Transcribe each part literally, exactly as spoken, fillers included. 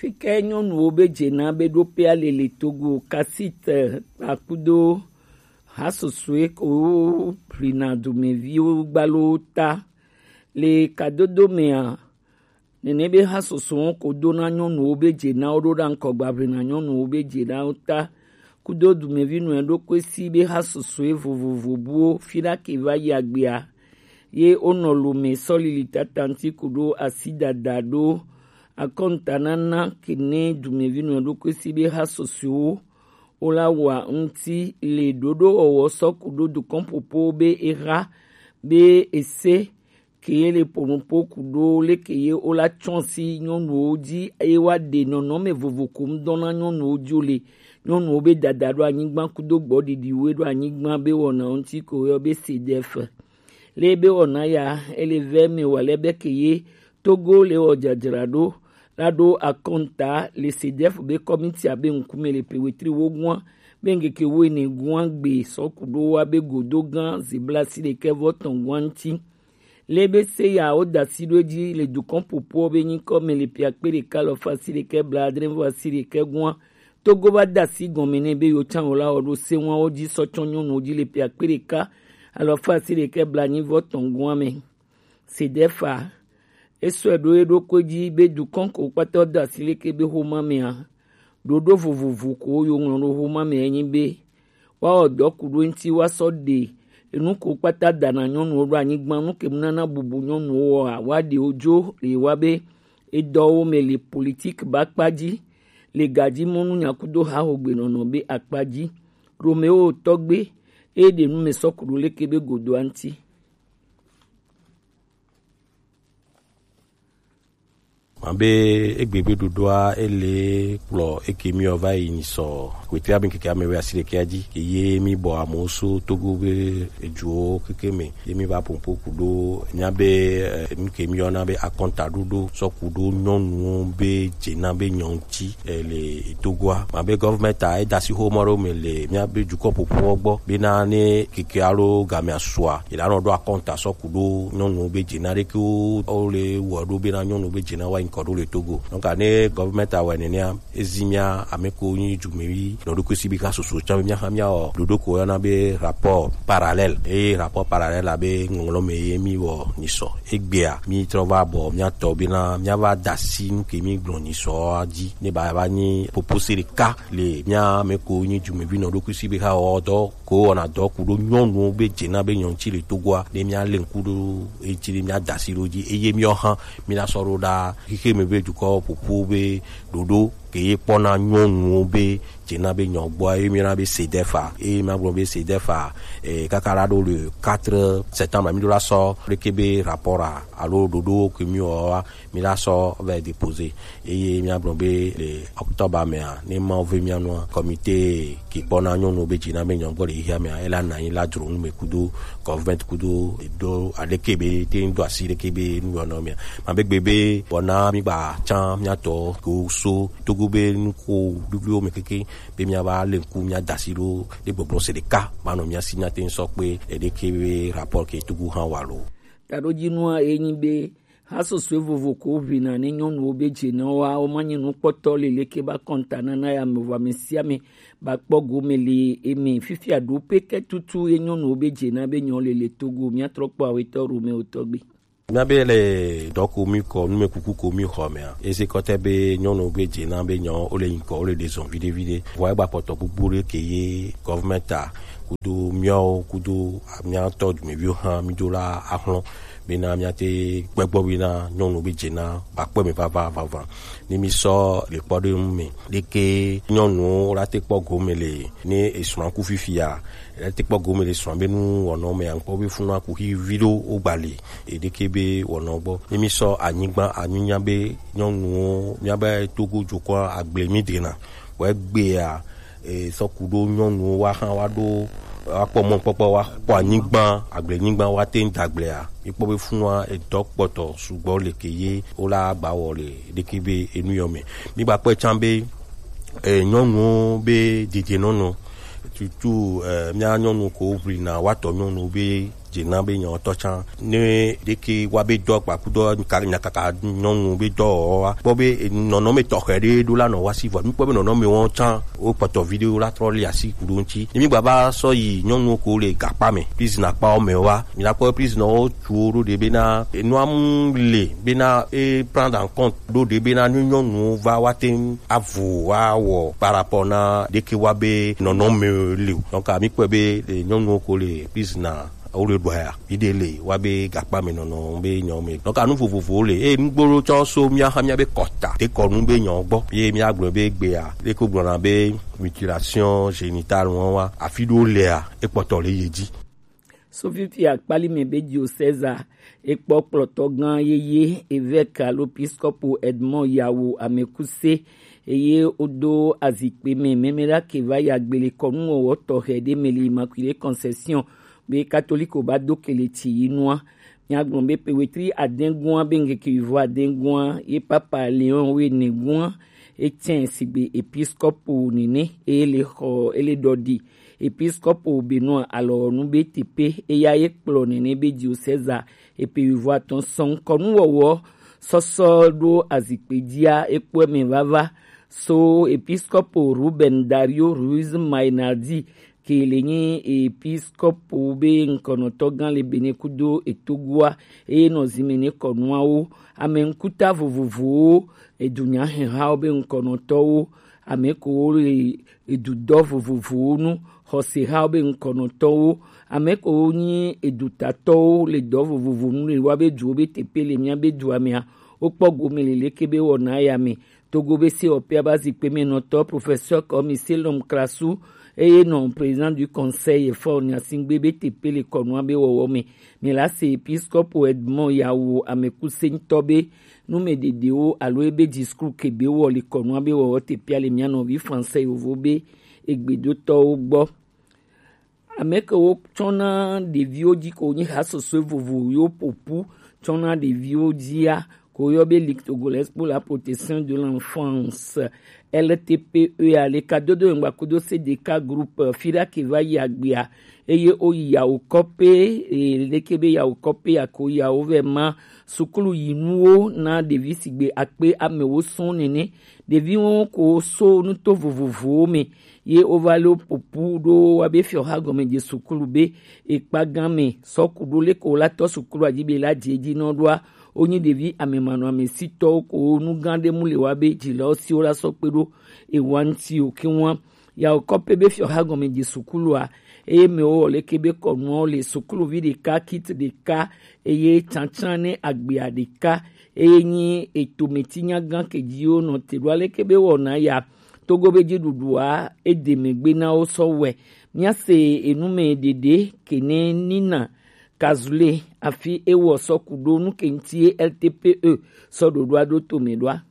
Fike nyɔnuwo be dze na be ɖo pe alele Togo, Kasit, eh, kpakudo hasosue ko hlina dumeviwo gbalo ta. Le kadodo mea, nene be hasoso ko do na nyɔnuwo be dze na wo ɖo ɖa ŋkɔ gba hlina nyɔnuwo be dze na wo ta. Kudo dumevi nɔ ɖokui si be hasosue vovovo buwo fi ɖa ke va yi agbea. Ye wonɔ lome sɔlili tatanti kudo asi dada ɖo akɔnta nana kene dumevi nɔ ɖokui si be hasosoewo wola wa ŋuti le ɖoɖo wɔwɔ sɔ kudo dukɔn popo be eha be ese ke ye le ponupo kudo leke ye wola tsɔn si nyɔnuwo dzi eye wa ɖe nɔnɔme vovo ko ŋdɔ na nyɔnuwo dzi wo le nyɔnuwo be dada ɖo anyigba kudo gbɔɖiɖi we ɖo anyigba be wɔna ŋuti ko yɔ be sedef. Le be wɔna ya ele vɛ me wa le be ke ye Togo le wɔ dzadzra ɖo la ɖo akɔnta le sedef be kɔmiti abe ŋkume le pe wetri wo gua be ŋgeke wo ene gua gbe sɔ kudo wa be godo gan zibla si ɖekɛ vɔ tɔn gua ŋuti. Le be se ya wo da si ɖo edzi le dukɔn popo be nyikɔ me le pe akpe ɖeka alɔfa si ɖekɛ bla adre vɔ asi ɖekɛ gua. Togo va da si gɔme ne be yo tsan wo la wɔ ɖo se wa wo dzi sɔ tsɔn nyɔnuwo dzi le pe akpe ɖeka alɔfa si ɖekɛ bla nyi vɔ tɔn gua me. Sedefa esɔe ɖo eɖokui dzi be dukɔn ko kpata da si leke be xoma mea, ɖoɖo vovovo ko yo ŋlɔ ɖo xoma me enyi be woawɔ dɔ ku ɖo ŋuti woasɔ ɖe enu ko kpata da na nyɔnuwo ɖo anyigba nu ke mu nana bubu nyɔnuwo wɔa woaɖe wo dzo le wa be edɔwo me le politik ba akpa dzi le gadzi mɔnu nyakudo haxogbenɔnɔ be akpa dzi. Romeo tɔgbe eye ɖe nu me sɔ ku ɖo leke be godoa ŋuti. Ma be egbe be ɖoɖoa ele kplɔ eke miɔ va yi nyi sɔ wetri abe keke ame wɛ asi ɖekɛ dzi ke ye mi bɔ amewo so Togo be eduwo keke me ye mi va ƒoƒo ku ɖo mia be eh, nu ke mi yɔna be akɔnta ɖoɖo sɔ ku ɖo nyɔnuwo be dze na be nyɔnu ti eh, le Togoa. Ma be gɔvmɛnta eda si xo mɔ ɖo me le mia be dukɔ ƒoƒoɔ gbɔ bena ne keke alo gamea sua ila nɔ ɖo akɔnta sɔ ku ɖo nyɔnuwo be dze na ɖekewo wo le wɔ ɖo bena nyɔnuwo be dze na wa nyikɔ ɖo le Togo. Donc ne gɔvmɛnta wɛ nenea ezi mia ame ko nyi dumevi nɔ ɖokui si be ka soso tsã be mia hã mia wɔ ɖoɖo ko yɔna be rapport parallèle eye rapport parallèle abe ŋɔŋlɔ me ye mi wɔ nyi sɔ egbea mi trɔ va bɔ mia tɔ bena mia va da si nu ke mi gblɔ nyi sɔ dzi ne ba va nyi popose ɖeka le mia ame ko nyi dumevi nɔ ɖokui si be ka wɔ dɔ ko wɔna dɔ ku ɖo nyɔnuwo be dze na be nyɔnu ti le Togoa ne mia le ŋku ɖo eti ne mia da si ɖo dzi eye miɔ hã mi na sɔ ɖo ɖa xixe me be dukɔ ƒoƒo be ɖoɖo ke ye kpɔna nyɔnuwo be dze na be nyɔ gbɔ eye mi na be sedefa eye ma gblɔ be sedefa eh, kaka la ɖo le quatre septembre mi ɖo la sɔ leke be rapport alo ɖoɖo ke mi wɔ wa mi la sɔ va déposer eye mia gblɔ be le octobre mea ne ma ve mia nua comité ke kpɔna nyɔnu be dzi na be nyɔ gbɔ le xexea mea ela na anyi la dzro nu me kudo government kudo do aleke be te do asi leke be nu yɔ nɔ mea ma be gbe be wɔna mi gba tsã mia tɔ ko so Togo be nu ko ɖuɖuwo me keke be mia va le ŋku mia da asi ɖo ɖe gbɔgblɔ se ɖeka ma nɔ mia si mia te sɔ kpe eɖeke be rapport ke Togo hã wa lo. Taɖodzinua ye nyi be hasosue vovo ko ʋina ne nyɔnuwo be dze na woa woma nyi nukpɔtɔ leleke ba kɔnta nana ya me vɔ ame sia ame ba kpɔ gome le eme fifia ɖo pe ke tutu ye nyɔnuwo be dze na be nyɔ lele Togo mia trɔ kpɔ awetɔ Romeo tɔgbe. Mia be le dɔ ko mi kɔ nume kuku ko mi xɔ mea ese kɔtɛ be nyɔnu be dze na be nyɔ wo le nyikɔ wo le ɖe zɔn viɖe viɖe vɔ egba kpɔtɔ gbogbo ɖe ke ye gɔvmɛnta kudo miawo kudo miatɔ dumeviwo hã mi do la axlɔ bena miate kpɛgbɔ bena nyɔnu be dze na bakpɔ me vava vava ne mi sɔ le kpɔ ɖe nu me ɖeke nyɔnuwo la te kpɔ gome le ne esrɔ̃ ku fifia la te kpɔ gome le srɔ̃ be nu wɔnɔ me ankpɔ be funu aku hi vi ɖo wo gba le eɖeke be wɔnɔ gbɔ ne mi sɔ anyigba anyigba be nyɔnuwo miabe Togo dukɔa agble mi dena wɔ egbea e, sɔ ku ɖo nyɔnuwo wa hã wa ɖo wa kpɔ mɔkpɔkpɔ wa kpɔ anyigba agblenyigba wa te ŋu dagblea mikpɔ be funua edɔ kpɔtɔ sugbɔ le ke ye wo la gba wɔ le ɖeke be enu yɔ me mi gba kpɔe tsã be e, nyɔnuwo be dedienɔnɔ tutu e, mia nyɔnu ko ʋlina wa tɔ nyɔnu be Dze na be nyɔtɔ tsã ne ɖeke wa be dɔ kpaku dɔ ka nya kaka nyɔnu be dɔ wa kpɔ be nɔnɔme tɔxɛ ɖe ɖo la nɔ wa si vɔ mi kpɔ be nɔnɔme wɔn tsã wo kpɔtɔ vi ɖewo la trɔ li asi ku ɖo ŋuti ne mi gba va sɔ yi nyɔnuwo ko le gakpa me prizina kpawo me wa mi na kpɔ prizina wo tu wo ɖo ɖe be na enua mu le be na e prendre en compte ɖo ɖe be na ne nyɔnuwo va wa te ŋu avo wa wɔ par rapport na ɖeke wa be nɔnɔme le o donc mi kpɔ be nyɔnuwo ko le prizina wo le ɖɔa ya mi ɖe le wa be gakpa me nɔnɔ be nyɔ me donc anu vovovowo le eye nugbolo tsɔ so mía xa mía be kɔta te kɔnu be nyɔ gbɔ ye mía gblɔ be gbea ɖeko gblɔna be mutilation génitale wɔn wa afi ɖo lea ekpɔtɔ le ye dzi. Sofifi akpali me be diocèse ekpɔ kplɔtɔ gã yeye évêque alo episkopo Edmond Yawo Amekuse eye wodo azikpe me mɛmɛɖa ke va yi agbele kɔnuwɔwɔ tɔxɛ ɖe me le Immaculée Conception be katoliko ba do kele tsi yi nua. Míagblɔ be pe wetri adɛngua be ŋkeke yuvo adɛngua ye papa Léon wene gua etsɛ sigbe episkopo nene eye le xɔ ele dɔ ɖi episkopo Benoît alɔnu be tepe eya ye kplɔ nene be diocèse epe yuvo atɔn sɔn kɔnuwɔwɔ sɔsɔ ɖo azikpe dzia ekpɔe me vava so episkopo Ruben Dario Ruiz Mainardi ke le nyi episkopo be ŋkɔnɔtɔ gã le Benin kudo etogoa eye nɔ zime ne kɔnuawo ame ŋkuta vovovowo edunya hɛhawo be ŋkɔnɔtɔwo ame ko le edudɔ vovovowo nu xɔsehawo be ŋkɔnɔtɔwo ame ko nyi edutatɔwo le dɔ vovovo nu le wa be duwo be tepe le mía be dua mea wokpɔ gome le leke be wɔna ya me Togo be se ɔpea ba zikpe me nɔtɔ professeur Kɔmi Selom Krasu eye nɔ président du conseil fɔ nyasingbe be tepe le kɔnua be wɔwɔ me. Mi la se episkopo Edmond Yawo amekusɛntɔ be numeɖeɖewo alo ebe discours ke be wɔ le kɔnua be wɔwɔ tepea le mia nɔvi français yovo be egbedotɔwo gbɔ. Ame ke wotsɔna ɖeviwo dzi ko nyi hasɔsɔe vovo yewo ƒoƒu tsɔna ɖeviwo dzia ko woyɔ be Ligue Togolaise pour la Protection de l'Enfance, L T P E a le kadodo ŋgba kudo C D K groupe fi ɖa ke va yi agbea eye woyi yawo kɔpe leke be yawo kɔpe ya ko yawo vɛ ma sukulu yinuwo na ɖevi sigbe akpe amewo sɔn nene. Ɖeviwo ko so nuto vovovowo me ye wova le ƒoƒu ɖo wa be fiɔha gɔme dze sukulu be ekpa gã me sɔku ɖo leke wo la tɔ sukulu adzi be la dze dzi nɔ ɖoa wonyi ɖevi amemanɔ amesitɔwo ko nu gã ɖe mu le wa be dzilawo siwo la sɔ kpe ɖo ewa ŋuti o ke wa yawo kɔpe be fiɔha gɔme dze sukulua eye me wo leke be kɔnuawo le sukuluvi ɖeka kit ɖeka eye tsantsan ne agbea ɖeka eye nyi etometi nyagã kedziwo nɔ te ɖo aleke be wɔna ya Togo be dziɖuɖua ede megbe na wo sɔ wɛ. Míase enume ɖeɖe kene nina kazule afi ewɔ sɔ ku ɖo nu ke ŋuti ye L T P E sɔ ɖoɖoa ɖo tome ɖoa.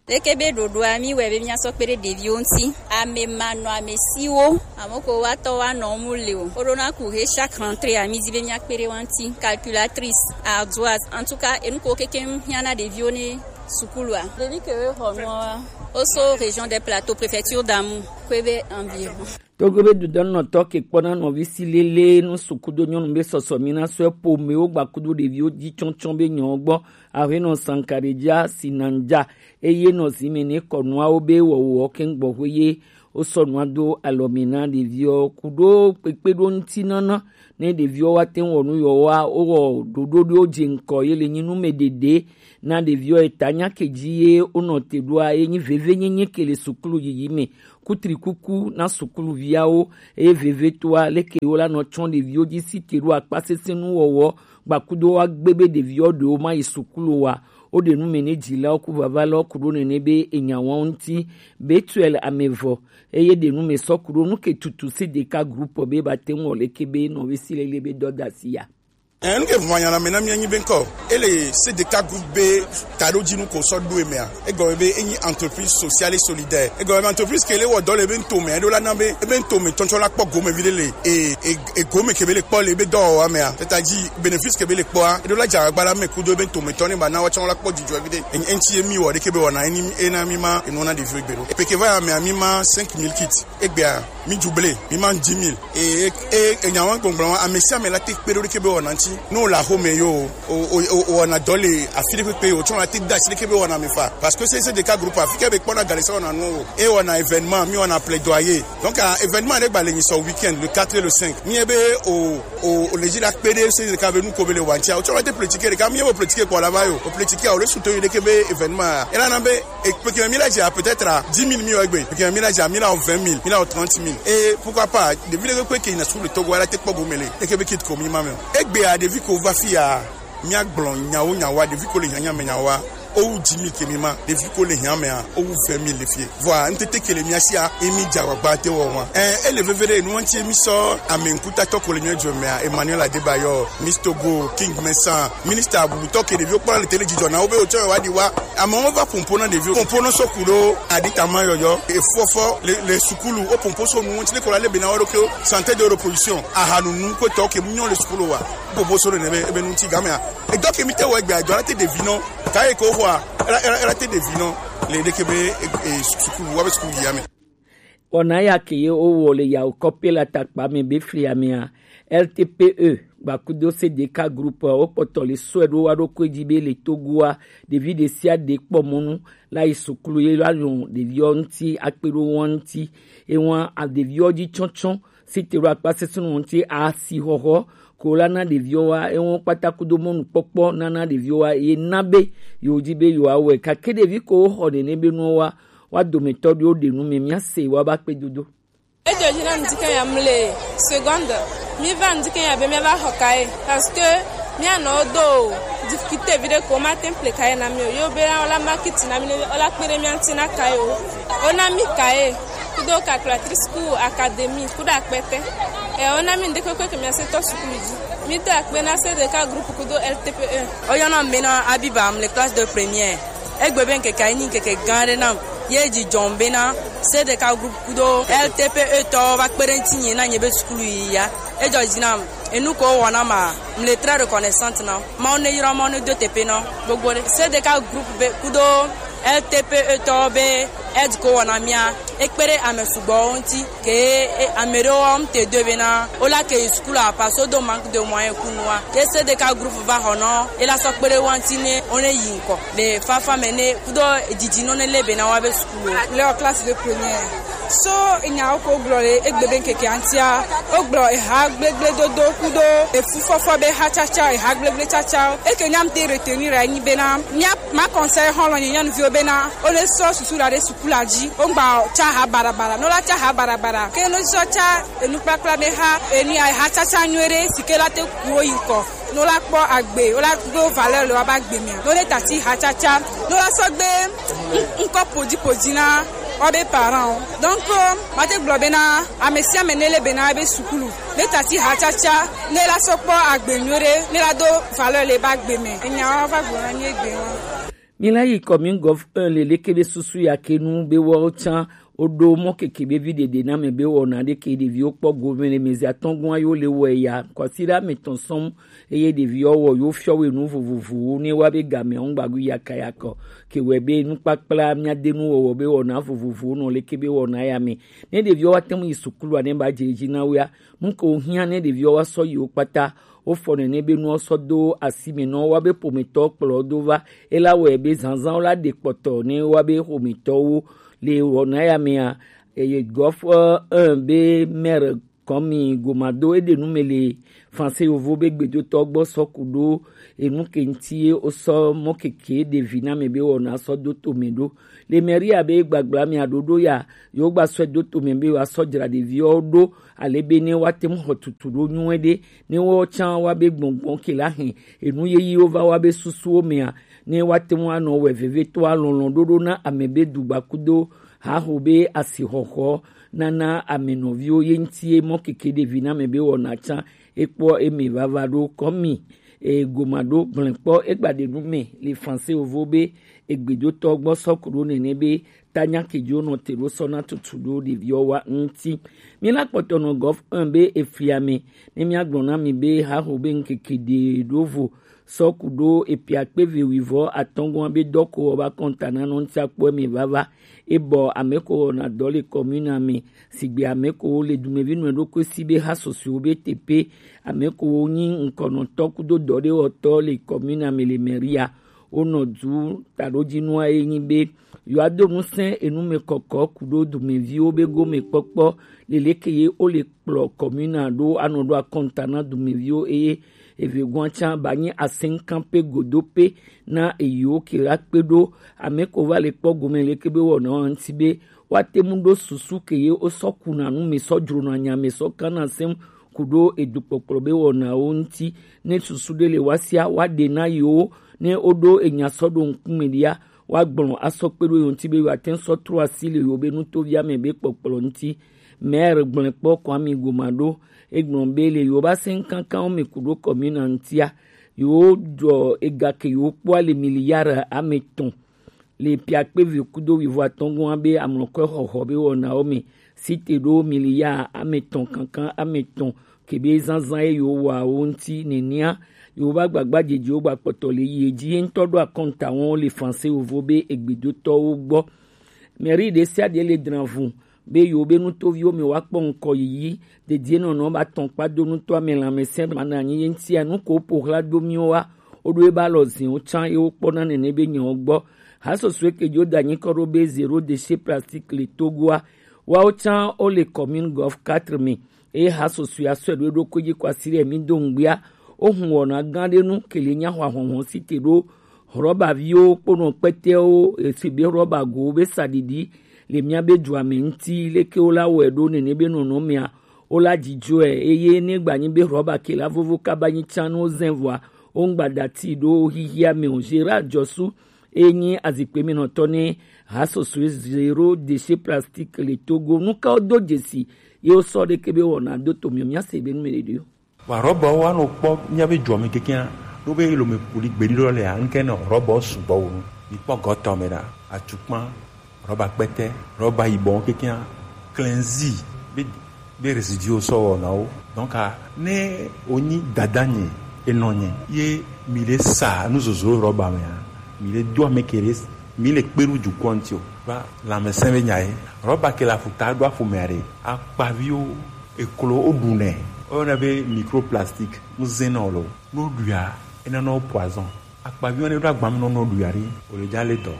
Leke be ɖoɖoa mi wɛ be míasɔ kpe ɖe ɖeviwo ŋuti. Ame manɔ ame siwo ame ko wa tɔ wa nɔ mu le o. Woɖo na ku he chaque rentrée a mi di be míakpe ɖe wa ŋuti. Calculatrice, ardoise, en tout cas enu ko keke hiã na ɖeviwo ne sukulua. Ɖevi ke wo xɔ nua wa. Oso région des plateaux, préfecture d'Amou, Kwebe environ. Togo be dudɔnɔtɔ ke kpɔna nɔvi si lele nu sukudo nyɔnu be sɔsɔ mi na sɔe pomewo gbakudo ɖeviwo dzi tsɔtsɔ be nyɔ gbɔ ahenɔ sankaredza sinanja eye nɔ zime ne kɔnuawo be wɔwɔ kɛngbɔxwe ye wosɔ nua do alɔme na ɖeviwo kudo kpekpeɖo ŋuti nana ne ɖeviwo wa te ŋu wɔ nu yɔwoa wowɔ ɖoɖo ɖewo dze ŋkɔ ye le nyi nume ɖeɖe na ɖeviwo eta nya ke dzi ye wonɔ te ɖoa ye nyi veve nyenye ke le sukulu yiyi me kutrikuku na sukuluviawo eye vevetoa leke wo la nɔ tsɔ ɖeviwo dzi si te ɖo akpasesẽ nuwɔwɔ gbakudo wa gbe be ɖeviwo ɖewo ma yi sukulu wa wo ɖe nu me ne dzilawo ku vava lɔ ku ɖo nene be enya wɔn ŋuti Betuel amevɔ eye ɖe nu me sɔ ku ɖo nu ke tutu si ɖeka groupe be ba te ŋu wɔ leke be nɔvi si lele be dɔdasi ya. Enu ke vɔn anya na me na mi anyi be nkɔ. Ele C D K groupe be taɖo dzi nu ko sɔ ɖo emea. Egɔme be enyi entreprise sociale et solidaire. Egɔme be entreprise ke le wɔ dɔ le be ŋutome, eɖo la na be ebe ŋutome tsɔtsɔ la kpɔ gome vi ɖe le e e e gome ke be le kpɔ le be dɔwɔwɔ mea. Teta dzi bénéfice ke be le kpɔa, eɖo la dza agba la me kudo ebe ŋutome tɔ ne ba na wa tsɔ la kpɔ dzidzɔ vi ɖe. Enyi eŋti emi wɔ ɖe ke be wɔna eni ena mi ma enu na ɖeviwo gbe ɖo. Epe ke va ya mea mi ma cinq mille kits. Egbea mi juble mi ma dix mille. E e e nya wa gbɔgblɔ wa ame sia ame la te kpe ɖo ɖe ke be wɔna ŋti. No la xome yo. O o o wɔna dɔ le afi ɖe kpekpe o tsɔ na te da asi ɖe ke be wɔna me fa. Parce que c'est c'est des cas groupe afi ke be kpɔna gale sa wɔna nu o. E wɔna événement mi wɔna plaidoyer. Donc ah, événement ɖe gba le nyi sɔ week-end le quatre et le cinq. Mi e be o o o le dzi la kpe ɖe c'est des cas be nu ko be le wa ŋtia. O tsɔ na te politique ɖe ka mi e be politique kpɔ la va yo. O politique a o le suto yi ɖe ke be événement. E la na be e kpekpe mi la dzi a peut-être à dix mille mi o egbe. Kpekpe mi la dzi a mi la o vingt mille, mi la o trente mille. Et pourquoi pas, ɖevi ɖe kpekpe ke na su le Togo la te kpɔ gome le. E ke be kit ko mi ma me. Egbe a ɖevi ko va fi ya. Mia gblɔ nyawo nyawa ɖevi ko le hiã nya me nyawa. Owu dix mille ke mi ma ɖevi ko le hiã mea owu vingt mille le fie. Vɔa ŋtete ke le mia sia emi dza agbagba te wɔ wa. Ɛ ele veve ɖe enu ŋti mi sɔ ame ŋkutatɔ ko le mia dzɔ mea Emmanuel Adebayor, Miss Togo, King Mesa, minister bubutɔ ke ɖeviwo kpɔna le tele dzidzɔ na wo be wotsɔ yɔ wa ɖi wa. Amewo va pompo na ɖeviwo. Pompo nɔ sɔ ku ɖo aɖitama yɔyɔ. Efɔfɔ le le sukulu wo pompo so nu ŋti le ko la le be na wo ɖokuiwo. Santé de reproduction. Ahanunu ko tɔ ke mu nyɔ le sukulu wa. Popo so ɖe nebe ebe ŋuti gamea. Edɔ ke mi te wɔ egbe adɔ la te ɖevi nɔ. Ka ye ko xɔa. Ela ela ela te ɖevi nɔ. Le ɖe ke be e e sukulu wa be sukulu ya me. Wɔna ya ke ye wowɔ le yawo kɔpe la takpa me be fli amea. L T P E gbakudo C D K groupe wo kpɔtɔ le sɔe ɖo wa ɖo ko dzi be le Togoa ɖevi ɖe sia ɖe kpɔ mɔnu la yi sukulu ye la yɔ ɖeviwo ŋti akpe ɖo wɔn ŋti. Ewa ɖeviwo dzi tsɔtsɔ Site ɖo akpa sesẽ ŋuti asixɔxɔ ko la na ɖeviwo wa, ewo kpata kudo mɔnukpɔkpɔ nana ɖeviwo wa, ye na be yewo dzi be yewoawɔe. Gake ɖevi ko xɔ nene be nuwo wa, wa dometɔ ɖewo ɖe nu me, míase wa ba kpe dodo. Edzo dzi na ŋdi ke ya mle seconde. Mi va ŋdi ke ya be mi va xɔ kaye. Parce que mi anɔ do difficulté vi ɖe ko ma te ple kaye na mi o. Yo be la la ma kiti na mi ne o la kpe ɖe mi ŋti na kaye o. O na mi kaye. Kudo calculatrice ku académie kudo akpɛtɛ. Ɛ, wona mi ŋɖekpekpe ke miase tɔ sukulu dzi. Mi do akpe na C D K groupe kudo L T P E. Oyɔna mi na Abiba, mle classe de première. Egbe be ŋkeke yi nyi ŋkeke gã ɖe nam. Ye dzi dzɔm be na C D K groupe kudo L T P E tɔ va kpe ɖe ŋti nye na nye be sukulu yi ya. Edzɔ dzi nam. Enu ko wɔna ma, mle très reconnaissante na. Mawu ne yra, Mawu ne do teƒe na gbogbo ɖe. C D K groupe be kudo L T P E tɔwo be aide ko wɔna mía, ekpe ɖe ame sugbɔwo ŋuti, ke e, ame ɖewo wɔm te do be na wola ke yi sukulu apa so do manque de moyen ku nua. Ke C D K groupe va xɔ nɔ, ela sɔ kpe ɖe wa ŋuti ne wo ne yi ŋkɔ. Le fafa me ne kudo didi nɔ ne le be na wa be sukulu. Le classe de première. So nyawo ko gblɔ le egbe be ŋkeke ŋutia, wogblɔ eha gblegble dodo kudo efufɔfɔ be ha tsatsa, eha gblegble tsatsa. Eke nyam te retenir anyi be na mía ma conseil xɔlɔ nye nyɔnuviwo be na wo ne sɔ susu la ɖe sukula dzi. Wogba tsa ha barabara, no la tsa ha barabara. Ke no sɔ tsa enukpakpla be ha enu eha tsatsa nyuie ɖe si ke la te ku wo yi ŋkɔ. No la kpɔ agbe, wo la do valeur le wa ba gbe mea. No le tati ha tsatsa, no la sɔ gbe ŋ-, ŋkɔ podi podi na wa be parents o. Donc, ma te gblɔ be na ame sia ame ne le be na be sukulu, ne tati ha tsatsa, ne la sɔ kpɔ agbe nyuie ɖe, ne la do valeur le ba gbe me. Enya wa va gblɔ na nye gbe wa. Mi la yi commune gov un le leke be susu ya ke nu be wo tsa Woɖo mɔ keke be vi ɖeɖe na mɛ be wɔna ɖe ke ɖeviwo kpɔ gome le mɛzi atɔ̃ gɔ̃ ayi wo le wɔe ya. Kwasiɖa mɛ tɔn sɔm eye ɖeviwo wɔ yewo fiɔ wo enu vovovowo ne wa be game ŋgbagu yakayakɔ ke wɛ be nukpakpla mía de nu wɔwɔ be wɔna vovovowo nɔ leke be wɔna ya mɛ. Ne ɖeviwo wa te ŋu yi sukulu ane ba dze edzi na wo ya. Nu ke wohiã ne ɖeviwo wa sɔ yi wo kpata, wofɔ nene be nuwo sɔ do asi me nɔ wo wa be ƒometɔwo kplɔ wo do va. Ela wɔe be zazãwo la ɖe kpɔtɔ ne wa be ƒometɔwo le wɔna ya mea, eye gɔf un be maire kɔmi gomado eɖe nu me le Français yovo be gbedotɔ gbɔ sɔ ku ɖo enu ke ŋuti ye wosɔ mɔ keke ɖevi na me be wɔna sɔ do to me ɖo. Le mairie be gbagbla mea ɖoɖo ya yewo gba sɔe do to me be yewoa sɔ dzra ɖeviwo ɖo ale be ne woate ŋu xɔ tutu ɖo nyuie ɖe, ne woawo tsã woabe gbɔngbɔn ke la hɛn enu yeyiwo va woabe susuwo mea, ne woate ŋu anɔ wɔe vevietɔ alɔlɔ̃ ɖoɖo na ame be dugbakudo haho be asixɔxɔ nana ame nɔviwo ye ŋuti ye mɔ keke ɖevi na ame be wɔna tsã Ekpɔ eme vava ɖo kɔmi egoma ɖo gblɛnkpɔ egbaɖe nu mɛ le Fransɛ ovo be egbedotɔ gbɔ sɔ ku ɖo nɛnɛ be tanya kejo nɔ te ɖo sɔ na tutu ɖo ɖeviɔ wa ŋuti. Mi la kpɔtɔ nɔ gɔf un be efli ame ne mi agblɔ na mi be haho be ŋkeke ɖe ɖo vo sɔ ku ɖo epiakpe ve wivɔ atɔngɔn be dɔko ɔba kɔnta na nɔ ŋuti akpɔ eme vava. Ebɔ ame ko wɔna dɔ le kɔmina me sigbe ame ko le dumevi nɔ ɖokui si be ha sosoewo be tepe ame ko nyi ŋkɔnɔtɔ kudo dɔ ɖe wɔtɔ le kɔmina me le mɛria. Wonɔ du taɖodzinua ye nyi be yewoado ŋusẽ enumɛkɔkɔ kudo dumeviwo be gomekpɔkpɔ leleke ye wole kplɔ kɔmina ɖo anɔ ɖo akɔnta na dumeviwo eye evegoa tsã ba nyi aseŋkan pe godo pe na eyiwo ke la kpe ɖo ame ko va le kpɔ gome leke be wɔna wa ŋuti be woate ŋu ɖo susu ke ye wosɔ kuna nu me sɔ dzrona nya me sɔ kana sɛm ku ɖo edukpɔkplɔ be wɔnawo ŋuti. Ne susu ɖe le woasia woaɖe na yewo ne woɖo enya sɔ ɖo ŋkume ɖia woagblɔ asɔ kpe ɖo yewo ŋuti be yewoate ŋu sɔ trɔ asi le yewo be nutovia me be kpɔkplɔ ŋuti. Maire gblɔe kpɔ Kwame Goma ɖo egblɔ be le yewo ba sɛn kankanwo me ku ɖo kɔmina ŋutia yewo ɖɔ ega ke yewo kpɔa le miliyari ame etɔ̃ le piakpe ve kudo wivɔ atɔngɔn be amlɔkɔe xɔxɔ be wɔnawo me site ɖo miliya ame etɔ̃ kankan ame etɔ̃ kebe zanzan ye yewo wɔa wo ŋuti nenia yewo ba gbagba dzedze wo gba kpɔtɔ le yi edzi ye ŋutɔ ɖo akɔnta wɔn le Fransɛ wovo be egbedotɔwo gbɔ. Mɛri ɖe sia ɖe le dra vu be yewo be nutoviwo me woakpɔ ŋkɔ yiyi dedie nɔnɔ ba tɔn kpa do nutɔ ame lãmesẽ ma na anyi ye ŋutia nu ko ƒo xla do miwo wa woɖo ebe alɔ zin wo tsã ye wokpɔna nene be nyawo gbɔ. Hasɔsɔe ke dzo da anyi kɔ ɖo be zéro déchet plastique le Togoa. Woawo tsã wole commune Golf quatre me eye hasɔsɔe asɔe ɖo eɖokui dzi kɔ asi ɖe mi do ŋgbia. Wohun wɔna gã ɖe nu ke le nya hwa hɔnhɔn si te ɖo Rɔbaviwo kponɔ kpɛtɛwo esi be rɔbagowo be saɖiɖi le míabe dua me ŋuti leke wola wɔe ɖo nene be nɔnɔmea wola dzidzɔe eye ne gbanyi be rɔba ke la vovo kaba nyi tsã ne wozẽ vɔa woŋgba dati ɖo xixia me o. Gérard Jɔsu eye nyi azikpe me nɔtɔ ne hasɔsɔe zéro déchet plastique le Togo nukawo do dzesi ye wosɔ ɖeke be wɔna do to miɔ míase be nu me ɖeɖi o. Vɔ rɔbawo anɔ kpɔ míabe dua me kekeŋ ɖo be lome ƒoli gbeɖi ɖɔ lea ŋkɛ nɔ rɔbawo sugbɔ wu nu. Mi kpɔ gɔtɔ me ɖa, atukpa, rɔba kpɛtɛ, rɔba yibɔ kekeŋ, klɛnzi be be résiduwo sɔ wɔna wo. Donc ne wonyi dada nye enɔ nye ye mi le sa nuzozo rɔba mea mi le do ame ke ɖe mi le kpe ɖo dukɔ ŋuti o. Va lãmesẽ be nya ye. Rɔba ke le aƒuta ɖo aƒomea ɖe akpaviwo eklo woɖunɛ woyɔna be microplastique ŋuzẽ nɔ lo. Ne woɖuia enana wo poison. Akpaviwo ne ɖo agba me nɔ nɔ ɖuia ɖi wòle dza le dɔ.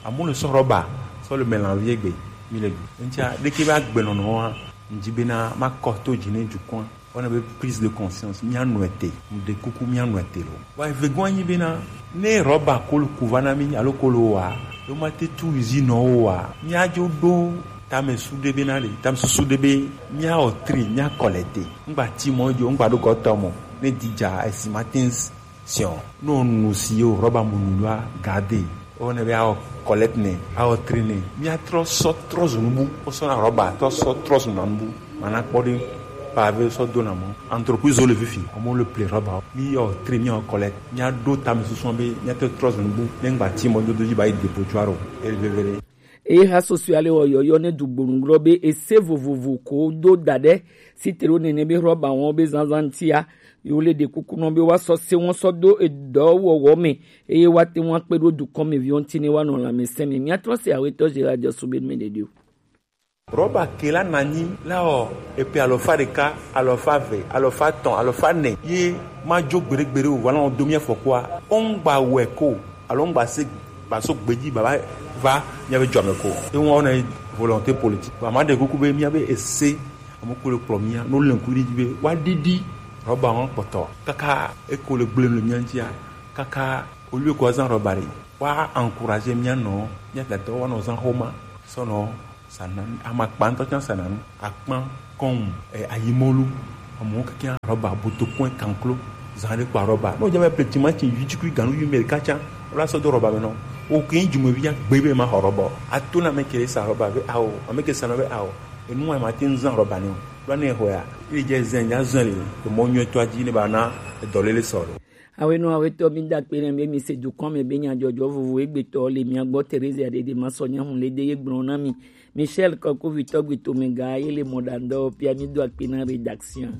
Amewo le sɔ rɔba sɔ le mélange egbe mi le ɖu. Eŋutia ɖeke be agbenɔnɔ wa ŋdi bena makɔ to dzi ne dukɔa. Wona be prise de conscience, míanɔe te. Ŋɖe kuku míanɔe te lo. Wa eve gɔ̃ anyi bena ne rɔba kolo ku va na mí alo kolo wa, yo mate tu usine wo wa, míadzo ɖo tamesu ɖe bena ɖe tamesusu ɖe be míawɔ tri, míakɔ le te. Ŋgba ti mɔ dzo, ŋgba ɖo gɔtɔ mɔ. Ne didza esi mate ŋu siɔ. Ne wonu si yo rɔba mo nu la garde. Wona be awɔ collecte nɛ, awɔ tri nɛ. Míatrɔ sɔ trɔ zu nubu. Wosɔna rɔba trɔ sɔ trɔ zu na nubu. Mana kpɔ ɖi pavé sɔ dona mɔ. Entreprise wo le fifi. Amewo le ple rɔba. Míyɔ tri, míyɔ collecte. Míaɖo tamesusu be míate trɔ zu nubu. Ne ŋgba ti mɔ dodo dzi ba yi dépôt tso aro. Ele veve ɖe. Eye hasɔsɔe ale wɔ yɔyɔ ne dugbonu gblɔ be ese vovovo ko do da ɖe sitero nene be rɔba wɔn be zanzan ŋutia yewo le ɖe kuku nɔ be woasɔ se wɔn sɔ do edɔwɔwɔ me eye woate ŋu akpe ɖo dukɔmeviwo ŋuti ne woanɔ lãmesẽ me. Míatrɔ se awetɔ Gérard Jɔsu be nu me ɖeɖi o. Rɔba ke la nanyi la wɔ epe alɔfa ɖeka, alɔfa eve, alɔfa etɔ̃, alɔfa ene ye madzo gbeɖegbeɖe o, vɔ la wɔ do mía fɔkua. Wo ŋgba wɔe ko alo ŋgba se gba so gbeji baba va míabe dua me ko. Eŋua wona volonté politique. Vɔ ma ɖe kuku be míabe ese ame ko le kplɔ mía no le ŋku ɖi dzi be woaɖiɖi rɔba wɔn kpɔtɔ kaka eko le gblẽ le mía ŋutia kaka au lieu ko azã rɔba ɖe woa encourager mía nɔ mía dadawo woanɔ zã xoma sɔnɔ sananu, amakpa ŋutɔ tsã sananu, akpã, kɔn, eh, ayimɔlu, amewo kekeŋ rɔba, botokɔe, kanklo, zã ɖe kpa rɔba. Ne wodze be ple timati, vitukui, ganu, yumel katsa, wola sɔ do rɔba me nɔ. Wo ke ŋu dzumevi ya gbe be ma xɔ rɔba o. Ato na ame ke sa rɔba be awo, ame ke sa nɔ be awo. Enu wa ma te ŋu zã rɔba ne o. Ɖo ne xɔa, Ejɛ zɛn nya zɛn le emɔ nyuitɔ dzi ne ba na edɔlele sɔ ɖo. Awenɔ awetɔ mi da kpe ne be mi se dukɔn me be nyadzɔdzɔ vovo egbetɔ le mia gbɔ. Teresa Dede ma sɔ nyahu le de ye gblɔ na mi. Michel Kɔkovitɔ gbetome ga ye le mɔɖaŋdɔ pia mi do akpe na rédaction.